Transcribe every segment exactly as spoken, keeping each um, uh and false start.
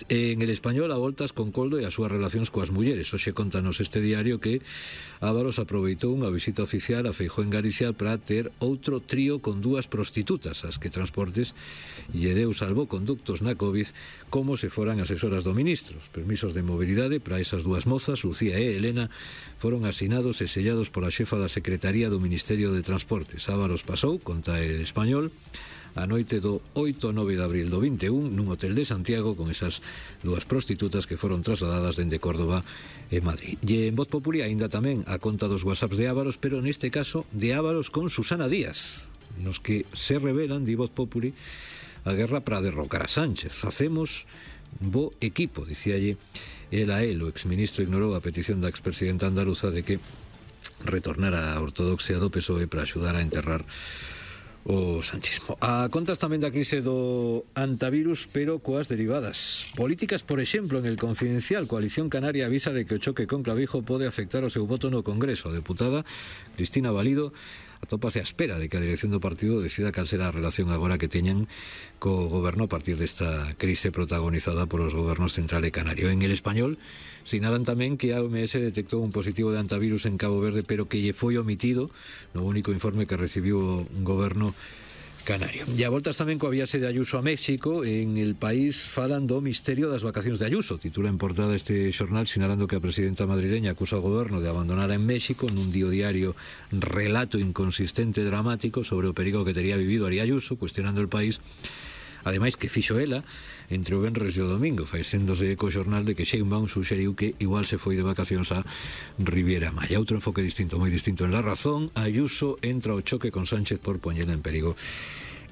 En El Español, a voltas con Coldo e as súas relacións coas mulleres. Hoxe contanos este diario que Ábalos aproveitou unha visita oficial a Feijóo en Galicia para ter outro trío con dúas prostitutas, as que Transportes lle deu salvoconductos na COVID como se foran asesoras do ministro. Os permisos de mobilidade para esas dúas mozas, Lucía e Elena, foron asinados e sellados pola xefa da Secretaría do Ministerio de Transportes. Ábalos pasou, conta El Español, a noite do oito a nove de abril do vinte e un nun hotel de Santiago con esas dúas prostitutas que foron trasladadas dende Córdoba e Madrid. E en Voz Populi aínda tamén a conta dos whatsapps de Ábalos, pero neste caso de Ábalos con Susana Díaz, nos que se revelan, di Voz Populi, a guerra para derrocar a Sánchez. Facemos bo equipo, dicíalle el a el. O exministro ignorou a petición da expresidenta andaluza de que retornara a ortodoxia do P S O E para axudar a enterrar o sanchismo. A contas tamén da crise do antivirus, pero coas derivadas políticas. Por exemplo, en El Confidencial, Coalición Canaria avisa de que o choque con Clavijo pode afectar o seu voto no Congreso. A deputada Cristina Valido atópase á espera de que a dirección do partido decida cal será a relación agora que teñan co goberno a partir desta crise protagonizada polos gobernos central e canario. En El Español sinalan tamén que a O M S detectou un positivo de antivirus en Cabo Verde, pero que lle foi omitido no único informe que recibiu o goberno canario. E a voltas tamén coa viaxe de Ayuso a México. En El País falan do misterio das vacacións de Ayuso. Titula en portada este xornal sinalando que a presidenta madrileña acusa ao goberno de abandonar en México nun dio diario relato inconsistente e dramático sobre o perigo que tería vivido Ari Ayuso, cuestionando El País ademais que fixo ela entre o venres e o domingo, faéndose eco xornal de que Sheinbaum suxeriu que igual se foi de vacacións a Riviera Maya. Outro enfoque distinto, moi distinto en La Razón. Ayuso entra ao choque con Sánchez por poñela en perigo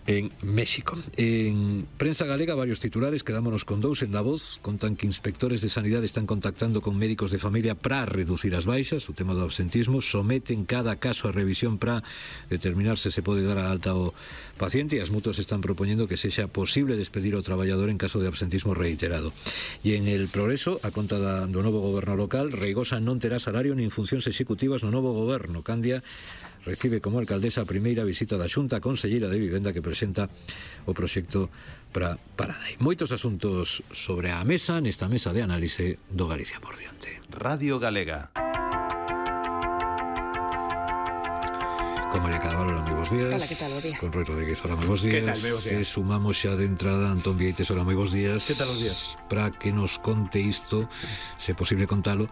en México. En prensa galega, varios titulares, quedámonos con dous en La Voz. Contan que inspectores de sanidade están contactando con médicos de familia para reducir as baixas, o tema do absentismo, someten cada caso a revisión para determinar se se pode dar a alta ao paciente, e as mutuas están propoñendo que sexa posible despedir ao traballador en caso de absentismo reiterado. E en El Progreso, a conta da, do novo goberno local, Reigosa non terá salario nin funcións executivas no novo goberno. Candia recibe como alcaldesa a primeira visita da Xunta Conselleira de Vivenda que presenta o proxecto para Paradai. Moitos asuntos sobre a mesa nesta mesa de análise do Galicia por diante. Radio Galega. Con María Cadaval, hola, moi bons días. Hola, que tal, bo día. Con Rui Rodríguez, hola, moi bons días. Que tal, moi bons días. Se sumamos xa de entrada Antón Vieites, hola, moi bons días. Que tal os días? Para que nos conte isto, se é posible contalo,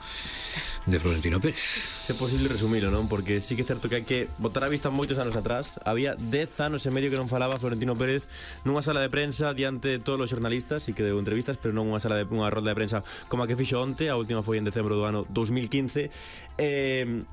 de Florentino Pérez. Se é posible resumilo, non? Porque sí que é certo que hai que botar a vista moitos anos atrás. Había dez anos e medio que non falaba Florentino Pérez nunha sala de prensa diante de todos os xornalistas, e que deu entrevistas, pero non unha sala de unha rolda de prensa como a que fixo onte. A última foi en decembro do ano dos mil quince. Eh...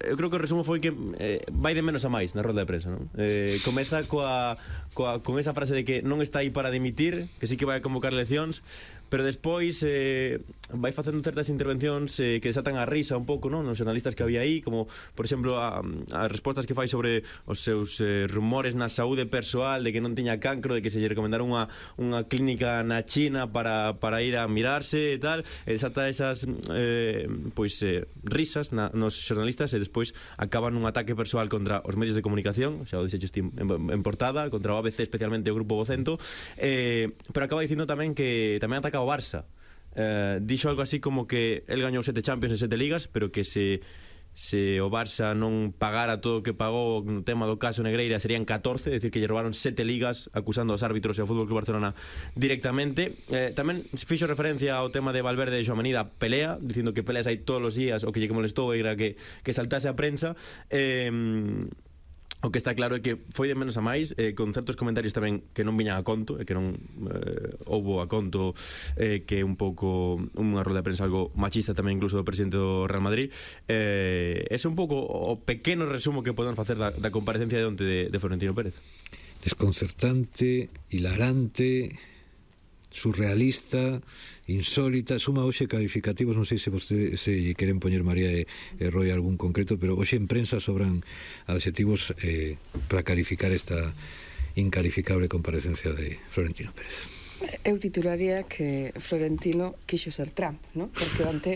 Eu creo que o resumo foi que eh, vai de menos a máis na rolda de prensa, non? Eh, comeza coa, coa, con esa frase de que non está aí para dimitir, que sí que vai a convocar eleccións, pero despois eh, vai facendo certas intervencións eh, que desatan a risa un pouco, non? Nos xornalistas que había aí, como, por exemplo, a, as respostas que fai sobre os seus eh, rumores na saúde persoal, de que non tiña cancro, de que se lle recomendaron unha, unha clínica na China para, para ir a mirarse e tal, e desata esas eh, pois eh, risas na, nos xornalistas, e despois acaba nun ataque persoal contra os medios de comunicación, xa o dixeches en, en portada, contra o A B C, especialmente o Grupo Vocento, eh, pero acaba dicindo tamén que tamén ataca o Barça. Eh, dixo algo así como que el gañou sete Champions e sete Ligas, pero que se se o Barça non pagara todo o que pagou no tema do caso Negreira serían catorce, é dicir, que lle roubaron sete ligas, acusando aos árbitros e ao Fútbol Club Barcelona directamente. Eh, tamén fixo referencia ao tema de Valverde e Xoamenida, pelea, dicindo que peleas hai todos os días, o que lle que molestou era que, que saltase a prensa. Eh, O que está claro é que foi de menos a máis, eh, con certos comentarios tamén que non viñan a conto, e que non eh, houbo a conto, eh, que un pouco unha rolda de prensa algo machista tamén incluso do presidente do Real Madrid. Eh, ese é un pouco o pequeno resumo que podemos facer da, da comparecencia de onte de, de Florentino Pérez. Desconcertante, hilarante, surrealista, insólita, suma hoxe calificativos, non sei se vostede se queren poñer María e, e Roy algún concreto, pero hoxe en prensa sobran adxetivos eh, para calificar esta incalificable comparecencia de Florentino Pérez. Eu titularía que Florentino quixo ser Trump, ¿no? Porque onte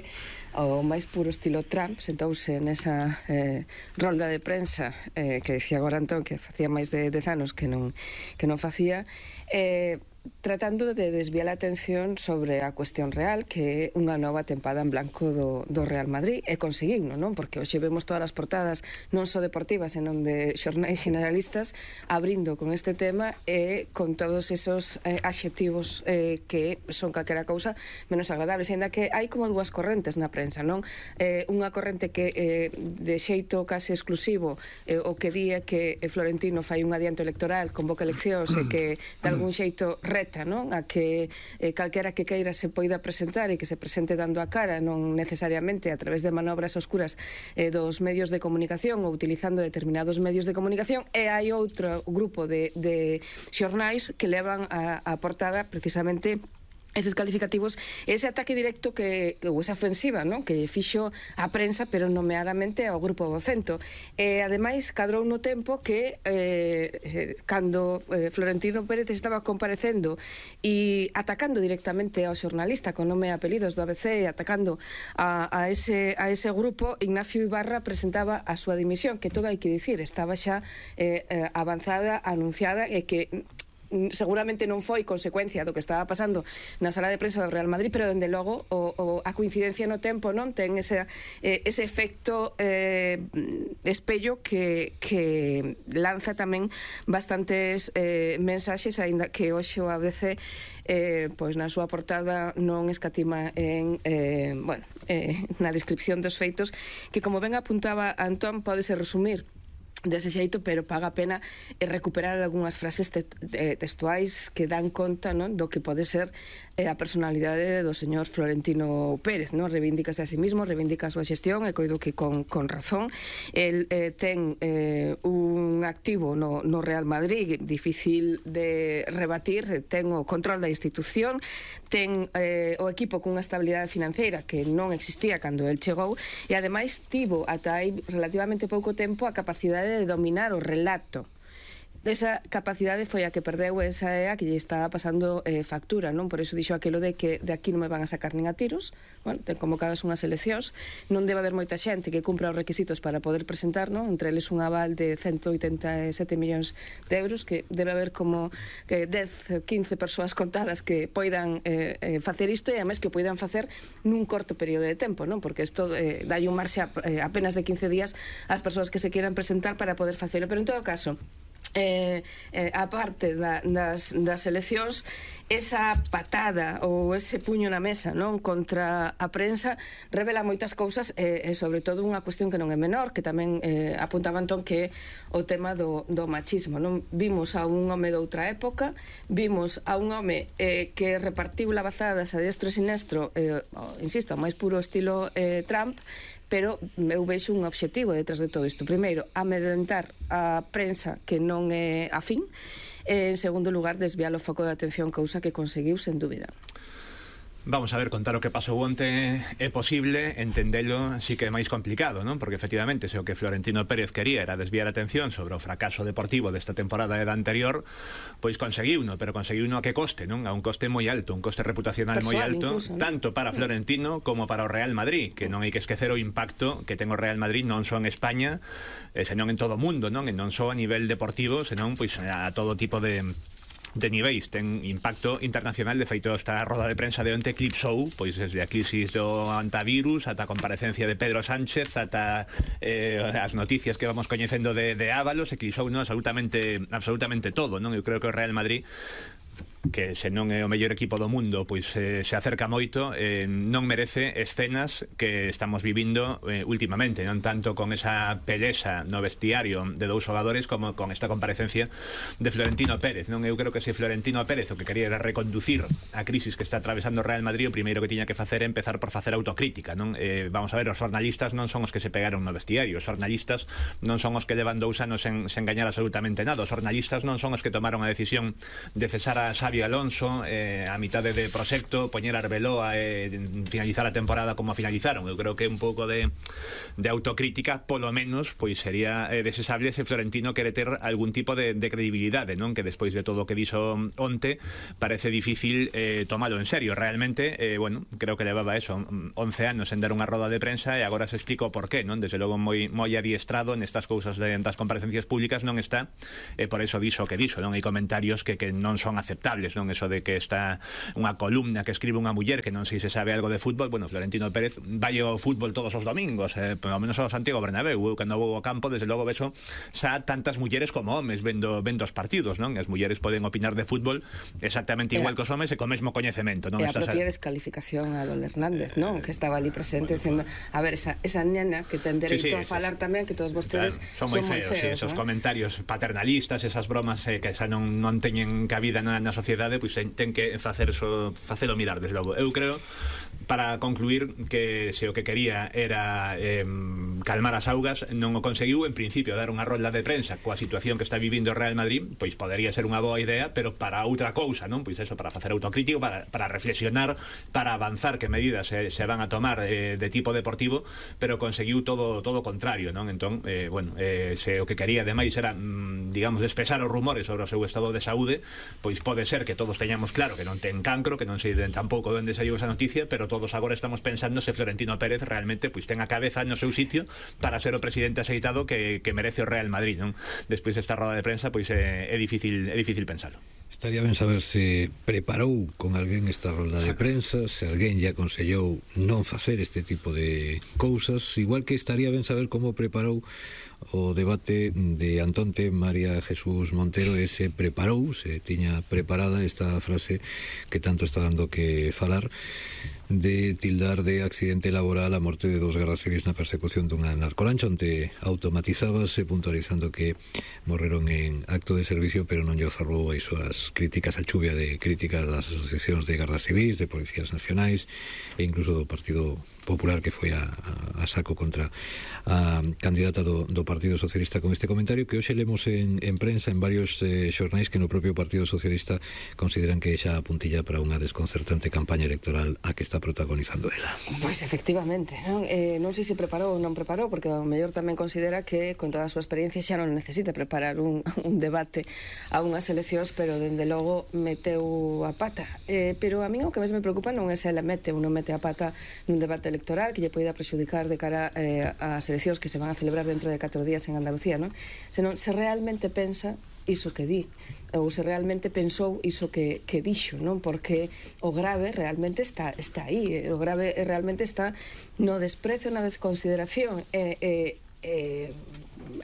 o máis puro estilo Trump sentouse nesa eh, rolda de prensa eh, que dicía agora Antón que facía máis de dez anos que non, que non facía, eh, tratando de desviar a atención sobre a cuestión real, que é unha nova tempada en blanco do, do Real Madrid, e conseguiuno, non? Porque hoxe vemos todas as portadas non só deportivas, senón de xornais generalistas abrindo con este tema e con todos esos eh, adxectivos eh, que son calquera cousa menos agradables, ainda que hai como dúas correntes na prensa, non? Eh, unha corrente que eh, de xeito case exclusivo eh, o que di é que Florentino fai un adianto electoral, convoca eleccións e que de algún xeito reta, non? A que eh, calquera que queira se poida presentar e que se presente dando a cara, non necesariamente a través de manobras oscuras eh, dos medios de comunicación ou utilizando determinados medios de comunicación, e hai outro grupo de, de xornais que levan a, a portada precisamente eses calificativos, ese ataque directo que, ou esa ofensiva, non? Que fixo a prensa, pero nomeadamente ao grupo vocento. E ademais cadrou no tempo que eh, eh, cando eh, Florentino Pérez estaba comparecendo e atacando directamente ao xornalista con nome e apelidos do A B C, e atacando a, a, ese, a ese grupo, Ignacio Ibarra presentaba a súa dimisión, que todo hai que dicir, estaba xa eh, eh, avanzada, anunciada, e que seguramente non foi consecuencia do que estaba pasando na sala de prensa do Real Madrid, pero dende logo o, o, a coincidencia no tempo non ten ese, eh, ese efecto eh, espello que, que lanza tamén bastantes eh, mensaxes, aínda que hoxe o A B C eh, pois na súa portada non escatima en eh, bueno, eh, na descripción dos feitos, que como ben apuntaba Antón, pódese resumir dese xeito, pero paga a pena recuperar algunhas frases te textuais que dan conta, non, do que pode ser eh, a personalidade do señor Florentino Pérez, non? Reivindícase a sí mismo, reivindica a súa xestión, e coido que con, con razón. El eh, ten eh, un activo no, no Real Madrid difícil de rebatir, ten o control da institución, ten eh, o equipo cunha estabilidade financeira que non existía cando el chegou, e ademais tivo ata aí relativamente pouco tempo a capacidade de dominar o relato. Esa capacidade foi a que perdeu, esa é a que lle está pasando eh, factura, non? Por iso dixo aquilo de que de aquí non me van a sacar nin a tiros. Bueno, ten convocadas unhas eleccións, non debe haber moita xente que cumpra os requisitos para poder presentar, non? Entre eles un aval de ciento oitenta e sete millóns de euros, que debe haber como que dez, quince persoas contadas que poidan eh, eh, facer isto, e además que o poidan facer nun corto período de tempo, non? Porque isto eh, dai un marxe a, eh, apenas de quince días ás persoas que se quieran presentar para poder facelo. Pero en todo caso, Eh, eh, a parte da, das, das eleccións, esa patada ou ese puño na mesa, non, contra a prensa revela moitas cousas, e, e sobre todo unha cuestión que non é menor, que tamén eh, apuntaba Antón, que é o tema do, do machismo, non? Vimos a un home de outra época, vimos a un home eh, que repartiu lavazadas a destro e sinestro, eh, insisto, máis puro estilo eh, Trump, pero eu vexo un obxectivo detrás de todo isto. Primeiro, amedrentar a prensa que non é afín, e en segundo lugar, desviar o foco de atención, cousa que conseguiu sen dúbida. Vamos a ver, contar o que pasou onte é posible, entendelo sí que é máis complicado, non? Porque efectivamente se o que Florentino Pérez quería era desviar a atención sobre o fracaso deportivo desta temporada e da anterior, pois conseguiuno, pero conseguiuno a que coste, non? A un coste moi alto, un coste reputacional moi alto, incluso, ¿no? Tanto para Florentino como para o Real Madrid, que non hai que esquecer o impacto que ten o Real Madrid non só en España, eh, senón en todo o mundo, non? E non só a nivel deportivo, senón pois a todo tipo de de niveis, ten impacto internacional. De feito, esta roda de prensa de onte eclipsou, pois desde a crisis do antivirus ata a comparecencia de Pedro Sánchez, ata eh, as noticias que vamos coñecendo de, de Ábalos, eclipsou, non, absolutamente, absolutamente todo, non? Eu creo que o Real Madrid, que se non é o mellor equipo do mundo, pois eh, se acerca moito, eh, non merece escenas que estamos vivindo eh, últimamente, non tanto con esa pelesa no vestiario de dous xogadores como con esta comparecencia de Florentino Pérez, non? Eu creo que se Florentino Pérez o que quería era reconducir a crisis que está atravesando o Real Madrid, o primeiro que tiña que facer é empezar por facer autocrítica, non? Eh, vamos a ver, os xornalistas non son os que se pegaron no vestiario, os xornalistas non son os que levan dous anos sen, sen gañar absolutamente nada, os xornalistas non son os que tomaron a decisión de cesar a Xavi Alonso eh, a mitade de proxecto, poñer a Arbeloa e eh, finalizar a temporada como a finalizaron. Eu creo que un pouco de, de autocrítica, polo menos, pois sería eh, desesable se Florentino quere ter algún tipo de, de credibilidade, non? Que despois de todo o que dixo onte parece difícil eh, tomalo en serio. Realmente, eh, bueno, creo que levaba eso, once anos en dar unha roda de prensa, e agora se explica o porqué, non? Desde logo moi, moi adiestrado nestas cousas de, das comparecencias públicas non está, e eh, por eso dixo o que dixo, non? Hai comentarios que, que non son aceptables inexplicables, non? Eso de que está unha columna que escribe unha muller que non sei se sabe algo de fútbol. Bueno, Florentino Pérez vai ao fútbol todos os domingos, eh, pelo menos ao Santiago Bernabéu. Eu, cando vou ao campo, desde logo beso xa tantas mulleres como homes vendo, vendo os partidos, non? As mulleres poden opinar de fútbol exactamente igual que os homes e co mesmo coñecemento, non? E a propia descalificación a Don Hernández, non? Que estaba ali presente dicindo, a ver, esa, esa nena que ten dereito sí, sí, a falar sí, tamén, que todos vostedes claro, son moi feos, feos, sí, esos ¿no? comentarios paternalistas, esas bromas eh, que xa non, non teñen cabida na, na sociedade, pois pues, ten, ten que facer so, facelo mirar, desde logo. Eu creo, para concluir, que se o que quería era eh, calmar as augas, non o conseguiu. En principio, dar unha rolda de prensa coa situación que está vivindo o Real Madrid, pois podería ser unha boa idea, pero para outra cousa, non? Pois eso, para facer autocrítico, para, para reflexionar, para avanzar que medidas se, se van a tomar eh, de tipo deportivo, pero conseguiu todo todo o contrario, non? Entón, eh, bueno, eh, se o que quería ademais era, mm, digamos, despexar os rumores sobre o seu estado de saúde, pois pode ser que todos teñamos claro que non ten cancro, que non sei tampouco onde saiu esa noticia, pero todos agora estamos pensando se Florentino Pérez realmente pois ten a cabeza no seu sitio para ser o presidente aceitado que, que merece o Real Madrid, non? Despois desta roda de prensa, pois é, é difícil é difícil pensalo. Estaría ben saber se preparou con alguén esta rolda de prensa, se alguén lle aconsellou non facer este tipo de cousas, igual que estaría ben saber como preparou o debate de Antonte María Jesús Montero, e se preparou, se tiña preparada esta frase que tanto está dando que falar, de tildar de accidente laboral a morte de dos gardas civis na persecución dunha narcolancha, onde automatizábase puntualizando que morreron en acto de servicio, pero non lle afarrou iso as críticas, a chuvia de críticas das asociacións de gardas civis, de policías nacionais e incluso do Partido Popular, que foi a, a, a saco contra a candidata do, do Partido Socialista con este comentario que hoxe lemos en, en prensa en varios eh, xornais que no propio Partido Socialista consideran que xa apuntilla para unha desconcertante campaña electoral a que está protagonizando ela. Pois efectivamente, non, eh, non sei se preparou ou non preparou, porque o mellor tamén considera que con toda a súa experiencia xa non necesita preparar un, un debate a unhas eleccións, pero dende logo meteu a pata. Eh, pero a mí o que máis me preocupa non é se ela mete ou non mete a pata nun debate electoral que lle poida prexudicar de cara eh, ás eleccións que se van a celebrar dentro de catro días en Andalucía, non? Senón se realmente pensa iso que di, ou se realmente pensou iso que, que dixo, non? Porque o grave realmente está, está aí, o grave realmente está no desprecio, na desconsideración e, e, e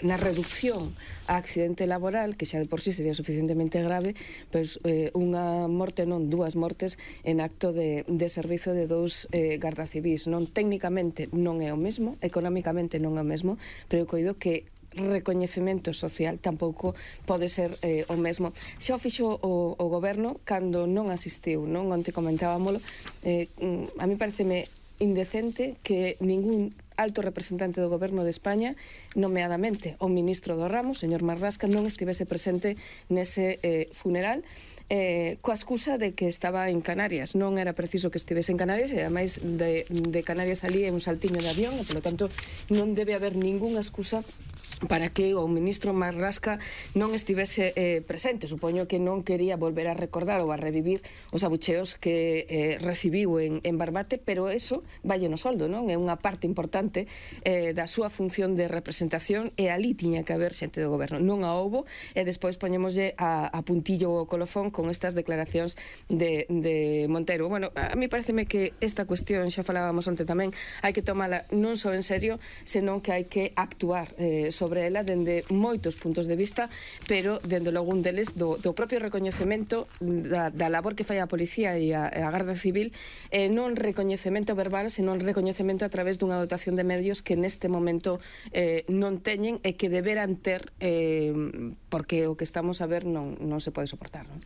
na reducción a accidente laboral, que xa de por sí sería suficientemente grave, pois eh, unha morte, non, dúas mortes en acto de, de servizo de dous eh, gardacivís, non? Técnicamente non é o mesmo, económicamente non é o mesmo, pero eu coido que recoñecemento social tampouco pode ser eh, o mesmo. Xa o fixo o, o goberno cando non asistiu, non? Onte comentábamolo, eh, a mí pareceme indecente que ningún alto representante do goberno de España, nomeadamente o ministro do ramo, señor Marrasca, non estivese presente nese eh, funeral, eh, coa excusa de que estaba en Canarias. Non era preciso que estivese en Canarias, e ademais de, de Canarias ali é un saltiño de avión, e polo tanto non debe haber ningunha excusa para que o ministro Marrasca non estivese eh, presente. Supoño que non quería volver a recordar ou a revivir os abucheos que eh, recibiu en, en Barbate, pero eso valle no soldo, non? É unha parte importante eh, da súa función de representación, e ali tiña que haber xente do goberno. Non a houbo, e despois poñémoslle a, a puntillo o colofón con estas declaracións de, de Montero. Bueno, a mí pareceme que esta cuestión, xa falábamos onte tamén, hai que tomala non só en serio, senón que hai que actuar eh, sobre sobre ela dende moitos puntos de vista, pero dende logo un deles do, do propio recoñecemento da, da labor que fai a policía e a, a Garda Civil, eh, non recoñecemento verbal, senón recoñecemento a través dunha dotación de medios que neste momento eh, non teñen e que deberan ter, eh, porque o que estamos a ver non, non se pode soportar, non?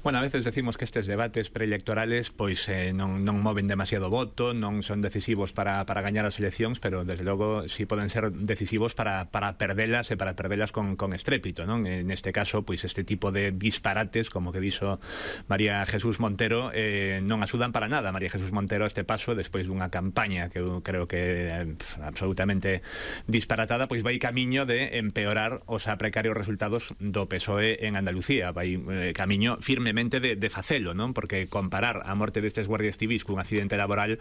Bueno, a veces decimos que estes debates preelectorales pois eh, non, non moven demasiado voto, non son decisivos para, para gañar as eleccións, pero desde logo sí poden ser decisivos para, para perdelas e para perdelas con, con estrépito, non? En este caso, pois este tipo de disparates, como que dixo María Jesús Montero, eh, non axudan para nada. María Jesús Montero a este paso, despois dunha campaña que eu creo que é absolutamente disparatada, pois vai camiño de empeorar os a precarios resultados do P S O E en Andalucía, vai eh, camiño firme probablemente de, de facelo, non? Porque comparar a morte destes guardias civis cun accidente laboral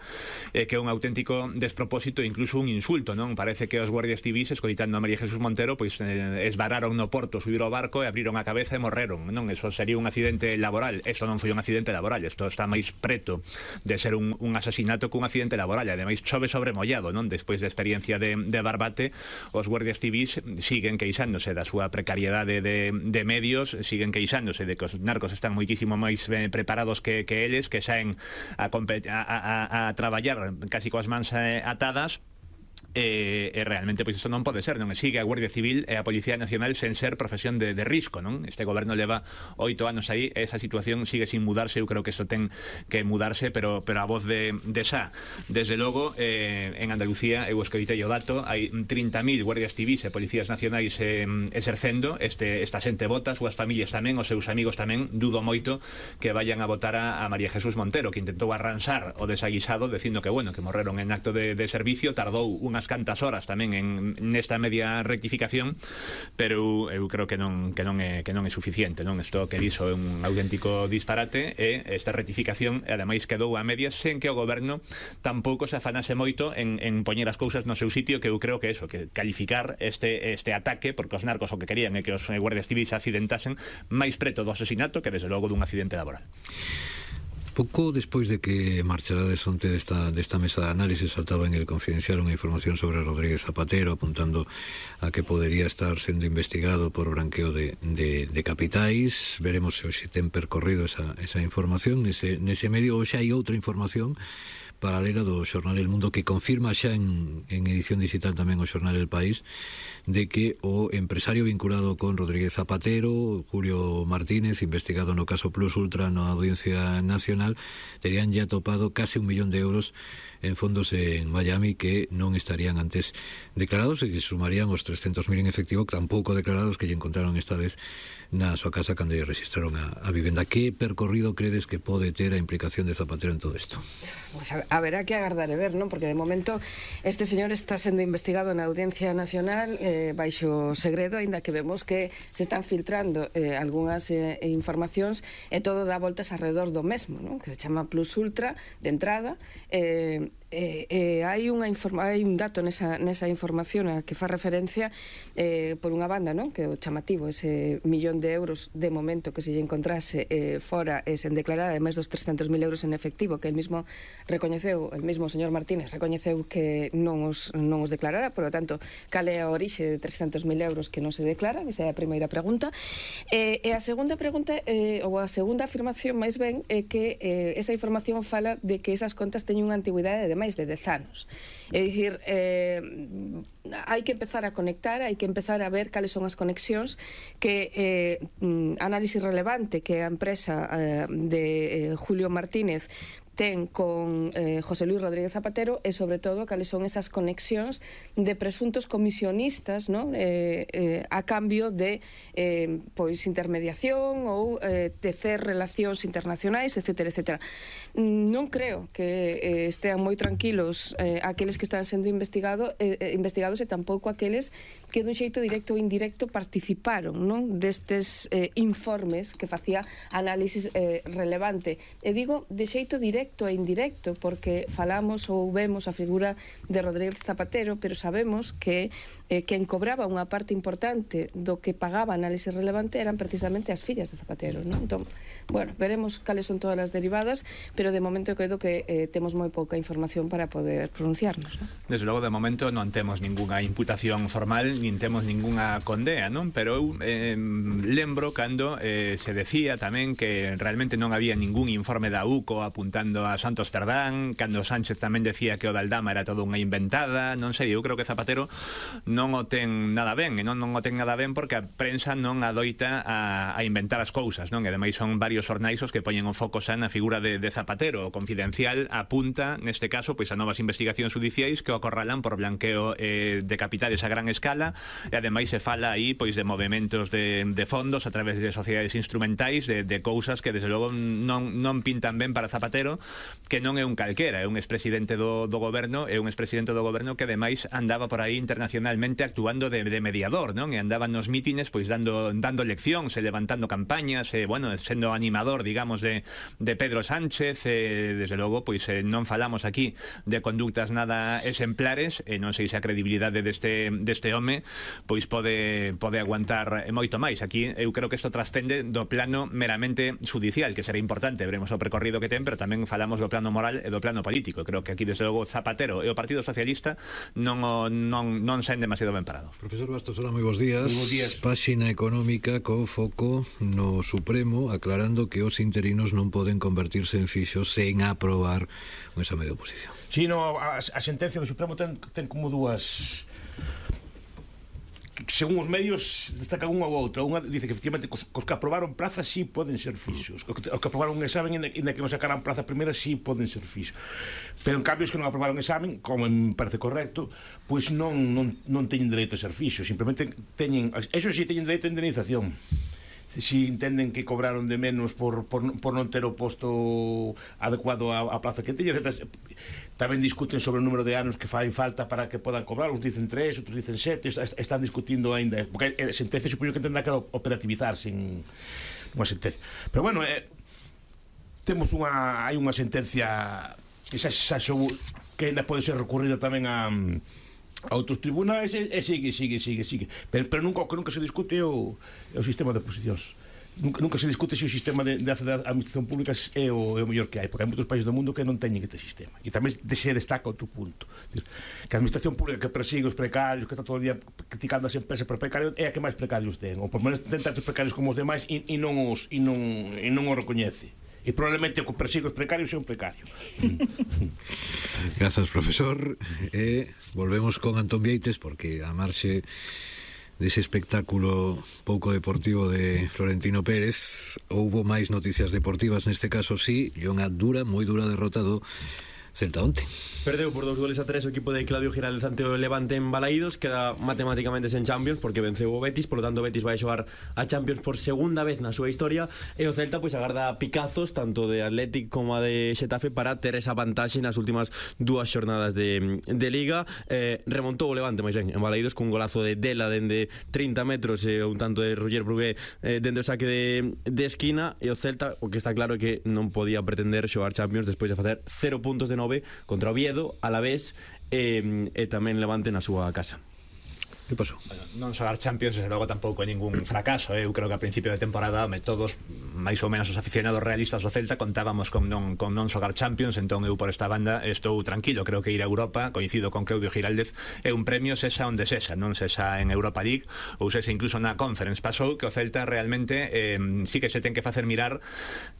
é eh, que é un auténtico despropósito e incluso un insulto, non? Parece que os guardias civis, escoitando a María Jesús Montero, pois eh, esvararon no porto, subiron ao barco e abriron a cabeza e morreron, non? Eso sería un accidente laboral. Isto non foi un accidente laboral, isto está máis preto de ser un, un asasinato que un accidente laboral, e ademais chove sobre mollado, non? Despois da experiencia de, de Barbate, os guardias civis siguen queixándose da súa precariedade de, de medios, siguen queixándose de que os narcos están moitísimo máis eh, preparados que, que eles, que saen a, a, a, a traballar casi coas mans eh, atadas. E, e realmente pois isto non pode ser, non? Sigue a Guardia Civil e a Policía Nacional sen ser profesión de, de risco, non? Este goberno leva oito anos aí, esa situación sigue sin mudarse. Eu creo que isto ten que mudarse, pero pero a voz de, de Sá, desde logo, eh, en Andalucía, eu escoitei o dato, hai trinta mil guardias civis e policías nacionais eh, exercendo, este, esta xente vota, as súas familias tamén, os seus amigos tamén. Dudo moito que vayan a votar a, a María Jesús Montero, que intentou arransar o desaguisado dicindo que, bueno, que morreron en acto de, de servicio, tardou unhas cantas horas tamén en nesta media rectificación, pero eu creo que non que non é que non é suficiente, non? Isto que dixo é un auténtico disparate, e esta rectificación ademais quedou a medias sen que o goberno tampouco se afanase moito en, en poñer as cousas no seu sitio, que eu creo que eso, que calificar este este ataque, porque os narcos o que querían é que os guardias civis accidentasen máis preto do asesinato que desde logo dun accidente laboral. Pouco despois de que marchara de sonte desta, desta mesa de análisis, saltaba en el Confidencial unha información sobre Rodríguez Zapatero apuntando a que podería estar sendo investigado por branqueo de, de, de capitais. Veremos se hoxe ten percorrido esa, esa información nese, nese medio, ou xa hai outra información paralela do xornal El Mundo que confirma xa en, en edición digital tamén o xornal El País de que o empresario vinculado con Rodríguez Zapatero, Julio Martínez, investigado no caso Plus Ultra na Audiencia Nacional, terían ya topado case un millón de euros en fondos en Miami que non estarían antes declarados e que sumarían os trescentos mil en efectivo tampouco declarados que lle encontraron esta vez na súa casa cando lle registraron a, a vivenda. Que percorrido credes que pode ter a implicación de Zapatero en todo isto? Pues a, haberá que agardar e ver, non? Porque de momento este señor está sendo investigado na Audiencia Nacional eh, baixo segredo, aínda que vemos que se están filtrando eh, algunhas eh, informacións e todo dá voltas alrededor do mesmo, non? Que se chama Plus Ultra de entrada. eh, Eh, eh, hai, unha informa, hai un dato nesa, nesa información a que fa referencia eh, por unha banda, non? Que o chamativo, ese millón de euros de momento que se lle encontrase eh, fora e sen declarar, ademais dos trescentos mil euros en efectivo que el mismo recoñeceu, el mismo señor Martínez recoñeceu que non os, non os declarara. Por lo tanto, cal é a orixe de trescentos mil euros que non se declaran? Esa é a primeira pregunta. eh, e a segunda pregunta eh, ou a segunda afirmación máis ben é que eh, esa información fala de que esas contas teñen unha antigüidade de máis de dez anos. É dicir, eh, hai que empezar a conectar, hai que empezar a ver cales son as conexións que eh, Análisis Relevante, que é a empresa eh, de eh, Julio Martínez ten con eh, José Luis Rodríguez Zapatero, e sobre todo cales son esas conexións de presuntos comisionistas, ¿no? eh, eh, a cambio de eh, pois intermediación ou eh, tecer relacións internacionais, etcétera, etcétera. Non creo que eh, estean moi tranquilos eh, aqueles que están sendo investigado, eh, investigados e tampouco aqueles que dun xeito directo ou indirecto participaron, non? Destes eh, informes que facía Análisis eh, Relevante. E digo de xeito directo e indirecto porque falamos ou vemos a figura de Rodríguez Zapatero, pero sabemos que eh, quen cobraba unha parte importante do que pagaba Análisis Relevante eran precisamente as fillas de Zapatero, non? Entón, bueno, veremos cales son todas as derivadas, pero de momento creo que eh, temos moi pouca información para poder pronunciarnos, non? Desde logo, de momento non temos ningunha imputación formal, nin temos ningunha condea, non? Pero eu eh, lembro cando eh, se decía tamén que realmente non había ningún informe da U C O apuntando a Santos Cerdán, cando Sánchez tamén decía que o da Aldama era todo unha inventada, non sei, eu creo que Zapatero non o ten nada ben, e non, non o ten nada ben porque a prensa non adoita a, a inventar as cousas, non? E ademais son varios xornais os que poñen o foco xa na figura de, de Zapatero. O Confidencial apunta, neste caso, pois a novas investigacións judiciais que ocorralan por blanqueo eh, de capitales a gran escala, e ademais se fala aí pois de movementos de, de fondos a través de sociedades instrumentais, de, de cousas que desde logo non, non pintan ben para Zapatero, que non é un calquera, é un expresidente do, do goberno, é un expresidente do goberno que ademais andaba por aí internacionalmente actuando de, de mediador, non? E andaba nos mítines pois dando dando leccións e levantando campañas, e bueno, sendo animador, digamos, de, de Pedro Sánchez, e desde logo pois eh, non falamos aquí de conductas nada exemplares, e non sei se a credibilidade deste deste home pois pode pode aguantar moito máis. Aquí eu creo que isto trascende do plano meramente judicial, que será importante, veremos o percorrido que ten, pero tamén falamos do plano moral e do plano político. Creo que aquí desde logo Zapatero e o Partido Socialista non non non saen demasiado ben parados. Profesor Bastos, hola, moi bons días. Moi bons días. Páxina económica co foco no Supremo aclarando que os interinos non poden convertirse en fixos sen aprobar un exame de oposición. Si, no, a, a sentencia do Supremo ten, ten como dúas... Según os medios destacan unha ou outra. Unha dice que efectivamente cos, cos que aprobaron plazas sí poden ser fixos, os que, os que aprobaron un examen e que non sacaran plaza primeira sí poden ser fixos, pero en cambio os que non aprobaron examen, como me parece correcto, pois non, non, non teñen dereito a ser fixos, simplemente teñen, eso sí, teñen dereito a indemnización si entenden que cobraron de menos por, por, por non ter o posto adecuado á, á plaza que teñen. Tamén discuten sobre o número de anos que fai falta para que podan cobrar, uns dicen tres, outros dicen sete, están discutindo ainda, porque a sentencia supoño que tendrá que operativizarse en unha sentencia, pero bueno, eh, temos unha hai unha sentencia que xa, xa xou, que ainda pode ser recurrida tamén a a outros tribunais, e, e sigue, sigue, sigue, sigue. Pero, pero nunca, o que nunca se discute é o, é o sistema de oposicións. Nunca, nunca se discute se o sistema de, de acceder á administración pública é o, é o mellor que hai, porque hai moitos países do mundo que non teñen este sistema. E tamén se destaca outro punto, que a administración pública que persigue os precarios, que está todo o día criticando as empresas por precarios, é a que máis precarios ten, ou por menos ten tantos precarios como os demais, e, e non os e non, e non os recoñece. E probablemente o que persigue os precarios é un precario. Grazas, profesor. E volvemos con Antón Vieites, porque a marxe dese espectáculo pouco deportivo de Florentino Pérez houbo máis noticias deportivas, neste caso sí, e unha dura, moi dura derrota do Celta onte. Perdeu por dos goles a tres o equipo de Claudio Giraldez ante o Levante en Balaídos, queda matemáticamente sen Champions porque venceu o Betis, polo tanto o Betis vai xogar a Champions por segunda vez na súa historia, e o Celta pois agarda picazos tanto de Athletic como a de Xetafe para ter esa vantaxe nas últimas dúas xornadas de, de Liga. eh, remontou o Levante máis ben en Balaídos cun golazo de Dela dende trinta metros e un tanto de Roger Brugué eh, dende o saque de, de esquina, e o Celta o que está claro é que non podía pretender xogar Champions despois de facer cero puntos de contra Oviedo, Alavés e, e tamén Levante na súa casa. Que pasou? Bueno, non xogar Champions desde logo tampouco é ningún fracaso. Eu creo que a principio de temporada me todos, máis ou menos os aficionados realistas do Celta, contábamos con non, con non xogar Champions. Entón eu por esta banda estou tranquilo. Creo que ir a Europa, coincido con Claudio Giraldez, é un premio sexa onde sexa, non sexa en Europa League ou sexa incluso na Conference. Pasou que o Celta realmente eh, sí que se ten que facer mirar,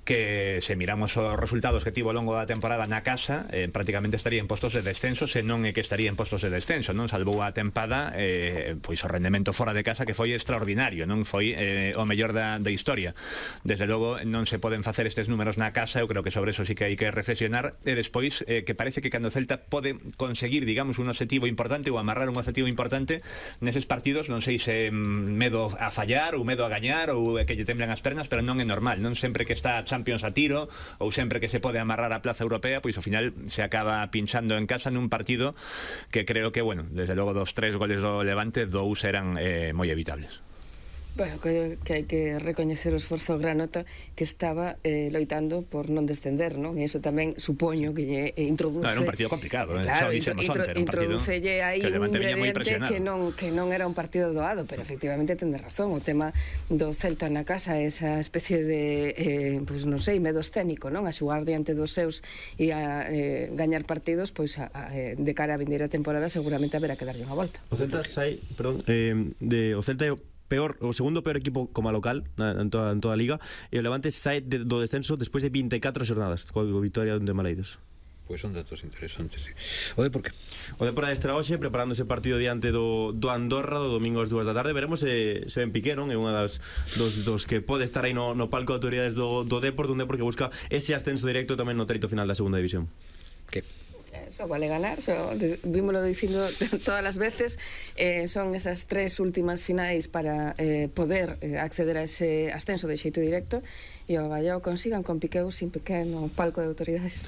que se miramos os resultados que tivo ao longo da temporada na casa, eh, prácticamente estaría en postos de descenso, se non é que estaría en postos de descenso, non? Salvou a tempada, eh, pois o rendemento fora de casa, que foi extraordinario, non foi eh, o mellor da, da historia. Desde logo non se poden facer estes números na casa, eu creo que sobre eso sí que hai que reflexionar. E despois eh, que parece que cando o Celta pode conseguir, digamos, un objetivo importante ou amarrar un objetivo importante neses partidos, non sei se medo a fallar ou medo a gañar ou que lle temblan as pernas, pero non é normal, non sempre que está Champions a tiro ou sempre que se pode amarrar a plaza europea, pois ao final se acaba pinchando en casa nun partido que creo que, bueno, desde logo dos tres goles do Levante, dous eran eh, moi evitables. Bueno, que, que hai que recoñecer o esforzo granota que estaba eh, loitando por non descender, non? E iso tamén supoño que lle introduce... No, era un partido complicado, eh? Claro, intro, intro, introducelle aí un ingrediente que non, que non era un partido doado, pero efectivamente tende razón. O tema do Celta na casa, esa especie de, eh, pues non sei, medo escénico, non? A xugar diante dos seus e a eh, gañar partidos, pois a, a, de cara a vindeira temporada seguramente haberá que darlle unha volta. O Celta sai, perdón, eh, de, o Celta é peor, o segundo peor equipo como local en toda, en toda a Liga, e o Levante sai de, do descenso despois de vinte e catro xornadas coa victoria de Maleiros. Pois son datos interesantes, sí. O Depor que? O Depor adestra hoxe preparando ese partido diante do, do Andorra do domingo ás dúas da tarde. Veremos se, se ben Piqué, non? É unha das dos, dos que pode estar aí no, no palco de autoridades do, do Depor, dun Depor que busca ese ascenso directo tamén no treito final da segunda división. Que? Eso vale ganar, xo, vímolo dicindo todas as veces, eh, son esas tres últimas finais para eh, poder eh, acceder a ese ascenso de xeito directo e o Gallao consigan con Piqueu sin Piqué no palco de autoridades.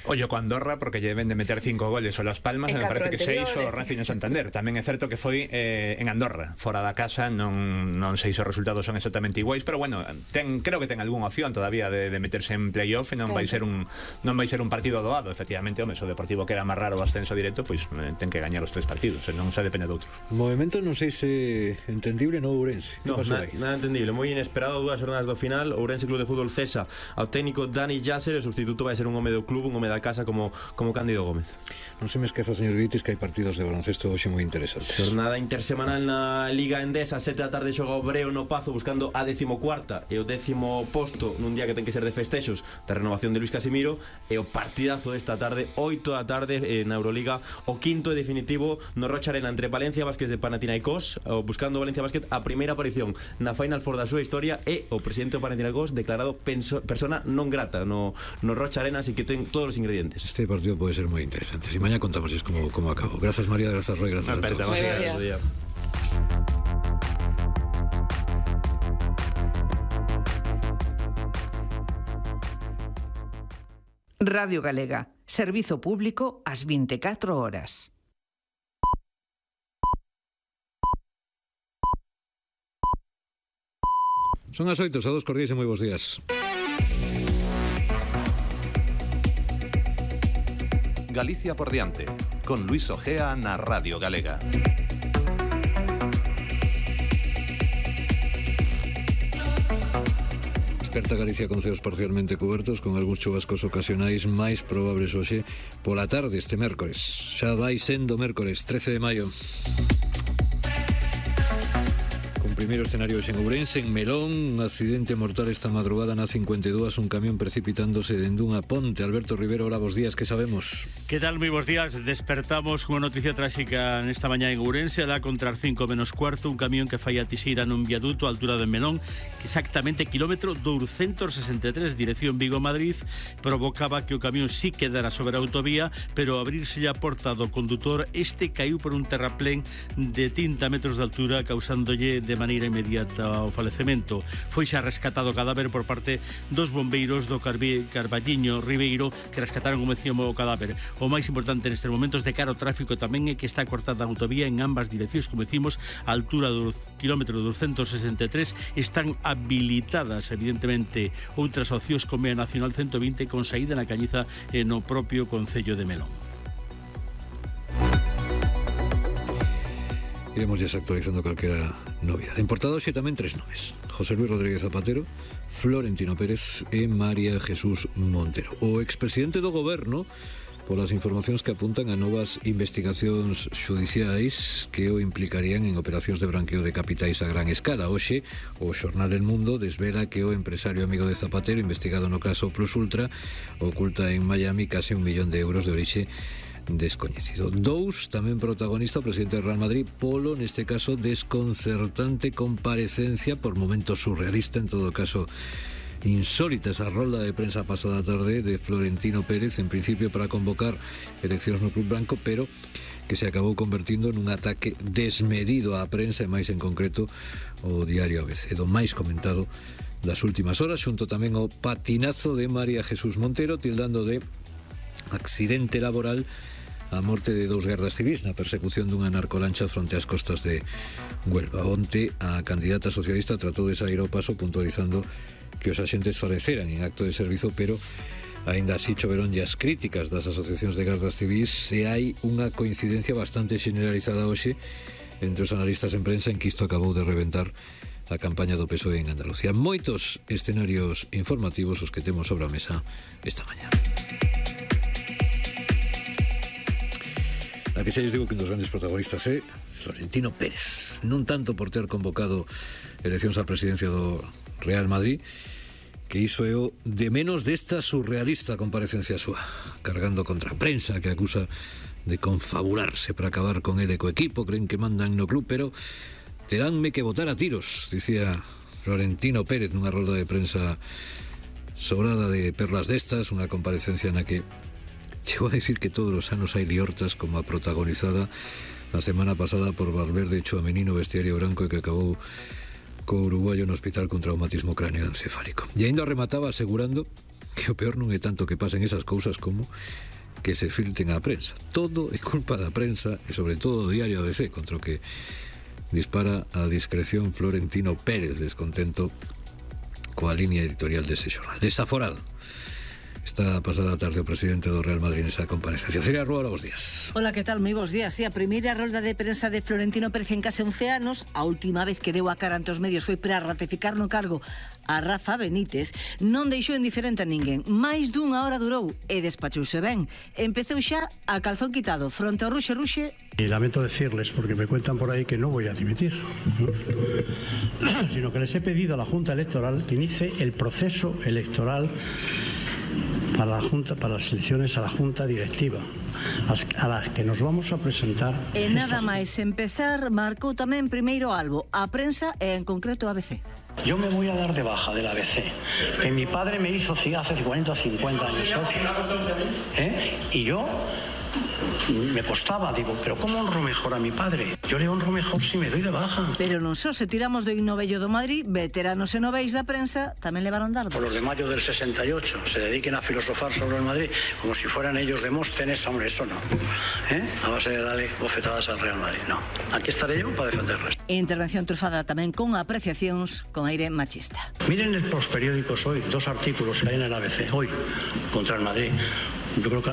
Ollo con Andorra porque lle ven de meter cinco goles o Las Palmas, En me parece que seis catro o Racing e Santander. Tamén é certo que foi eh, en Andorra, fora da casa, non, non sei se os resultados son exactamente iguais, pero bueno, ten, creo que ten algunha opción todavía de, de meterse en playoff e non vai ser un non vai ser un partido doado, efectivamente, home, o Deportivo quere amarrar o ascenso directo, pois eh, ten que gañar os tres partidos, e non se depende de outros. Movimento non sei se entendible no Ourense. Que No, pasou na, aí? nada entendible, moi inesperado, dúas jornadas do final. Ourense Club de Fútbol cesa ao técnico Dani Yasser, o sustituto vai ser un home do club, un home da casa como como Cándido Gómez. Non se me esqueza, señor Vitis, que hai partidos de baloncesto hoxe moi interesantes. Jornada intersemanal na Liga Endesa, sete da tarde xoga o Breo no Pazo buscando a decimocuarta e o décimo posto nun día que ten que ser de festexos da renovación de Luis Casimiro, e o partidazo desta tarde, oito da tarde eh, na Euroliga, o quinto e definitivo no Rocha Arena entre Valencia Vázquez de Panathinaikos, o buscando Valencia Vázquez a primeira aparición na Final Four da súa historia, e o presidente do Panathinaikos declarado penso, persona non grata no, no Rocha Arena, así que ten todos os ingredientes. Este partido puede ser muy interesante. Si mañana contamos cómo, cómo acabó. Gracias, María, gracias, Roy, gracias a todos. Gracias. Radio Galega, servizo público ás vinte e catro horas. Son as oito, saúdos cordiais e moi bons días. Galicia por diante, con Luis Ojea na Radio Galega. Desperta Galicia con ceos parcialmente cubertos, con algúns chubascos ocasionais máis probables hoxe pola tarde este mércores. Xa vai sendo mércores, trece de maio. Primeiro escenario en Ourense, en Melón, un accidente mortal esta madrugada na cincuenta e dúas, un camión precipitándose dende unha ponte. Alberto Rivero, hola, bos días, que sabemos? Que tal, moi bos días? Despertamos unha noticia tráxica nesta mañá en Ourense, alá contra as cinco menos cuarto, un camión que fai a tixeira nun viaduto a altura de Melón, que exactamente kilómetro doscientos sesenta e tres, dirección Vigo-Madrid, provocaba que o camión sí quedara sobre a autovía, pero ao abrirse a porta do condutor, este caiu por un terraplén de trinta metros de altura, causándolle de maneira inmediata ao falecemento. Foi xa rescatado o cadáver por parte dos bombeiros do Carbi, Carballiño Ribeiro, que rescataron, como decíamos, o cadáver. O máis importante nestes momentos de cara ao tráfico tamén é que está cortada a autovía en ambas direccións, como decimos, a altura do kilómetro doscientos sesenta e tres. Están habilitadas, evidentemente, outras opcións como a Nacional ciento vinte con saída na Cañiza e no propio concello de Melón. Iremos ya actualizando calquera novidade. En portada hoxe tamén tres nomes: José Luis Rodríguez Zapatero, Florentino Pérez e María Jesús Montero. O expresidente do goberno, polas informacións que apuntan a novas investigacións xudiciais que o implicarían en operacións de branqueo de capitais a gran escala. Hoxe, o xornal El Mundo desvela que o empresario amigo de Zapatero, investigado no caso Plus Ultra, oculta en Miami case un millón de euros de orixe descoñecido. Dous, tamén protagonista o presidente do Real Madrid, polo, neste caso, desconcertante comparecencia, por momentos surrealista, en todo caso insólita, esa rolda de prensa pasada tarde de Florentino Pérez, en principio para convocar eleccións no Club Branco, pero que se acabou convertindo nun ataque desmedido á prensa, e máis en concreto o diario A B C, do máis comentado das últimas horas, xunto tamén ao patinazo de María Jesús Montero, tildando de accidente laboral a morte de dous gardas civis na persecución dunha narcolancha fronte ás costas de Huelva. Onte, a candidata socialista tratou de sair ao paso puntualizando que os axentes faleceran en acto de servizo, pero aínda así choveron as críticas das asociacións de gardas civis, e hai unha coincidencia bastante generalizada hoxe entre os analistas en prensa en que isto acabou de reventar a campaña do P S O E en Andalucía. Moitos escenarios informativos os que temos sobre a mesa esta mañá. A que xa lles digo que un dos grandes protagonistas é Florentino Pérez, non tanto por ter convocado eleccións á presidencia do Real Madrid, que iso é o de menos desta surrealista comparecencia súa, cargando contra a prensa que acusa de confabularse para acabar con ele co equipo, creen que mandan no club, pero teránme que botar a tiros, dicía Florentino Pérez nunha rolda de prensa sobrada de perlas destas, unha comparecencia na que Chegou a decir que todos os anos hai liortas como a protagonizada a semana pasada por Valverde Chouameni no vestiario branco e que acabou co uruguayo no hospital con traumatismo craneoencefálico. E ainda remataba asegurando que o peor non é tanto que pasen esas cousas como que se filten á prensa. Todo é culpa da prensa e sobre todo o diario A B C, contra o que dispara a discreción Florentino Pérez, descontento coa línea editorial dese xornal. Desaforado esta pasada tarde o presidente do Real Madrid nesa comparecencia. Celia Rúa, bos días. Hola, que tal? Moi bons días. Sí, a primeira rolda de prensa de Florentino Pérez en case once anos, a última vez que deu a cara ante os medios foi para ratificar no cargo a Rafa Benítez, non deixou indiferente a ninguén. Máis dunha hora durou e despachouse ben. Empezou xa a calzón quitado fronte ao ruxe ruxe. Y lamento decirles, porque me cuentan por ahí que no voy a dimitir, sino que les he pedido a la Junta Electoral que inicie el proceso electoral para la Junta, para las elecciones a la Junta Directiva, a las que nos vamos a presentar. E nada máis empezar, marcou tamén primeiro albo a prensa e en concreto a B C. Yo me voy a dar de baja del A B C, que mi padre me hizo hace cuarenta o cincuenta años. ¿Eh? Y yo me costaba, digo, pero ¿cómo honro mejor a mi padre? Yo le honro mejor si me doy de baja. Pero non só se tiramos do himno bello do Madrid, veteranos e noveis da prensa tamén levaron dardos. Por los de mayo del sesenta y ocho se dediquen a filosofar sobre el Madrid como si fueran ellos Demóstenes, hombre, eso no. ¿Eh? A base de darle bofetadas al Real Madrid, no. Aquí estaré yo para defenderles. Intervención trufada tamén con apreciacións con aire machista. Miren en los periódicos hoy, dos artículos que hay en el A B C, hoy, contra el Madrid. Yo creo que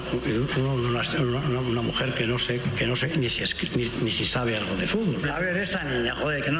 una, una, una mujer que no sé, que no sé ni si, es, ni, ni si sabe algo de fútbol. A ver, esa niña, joder, que no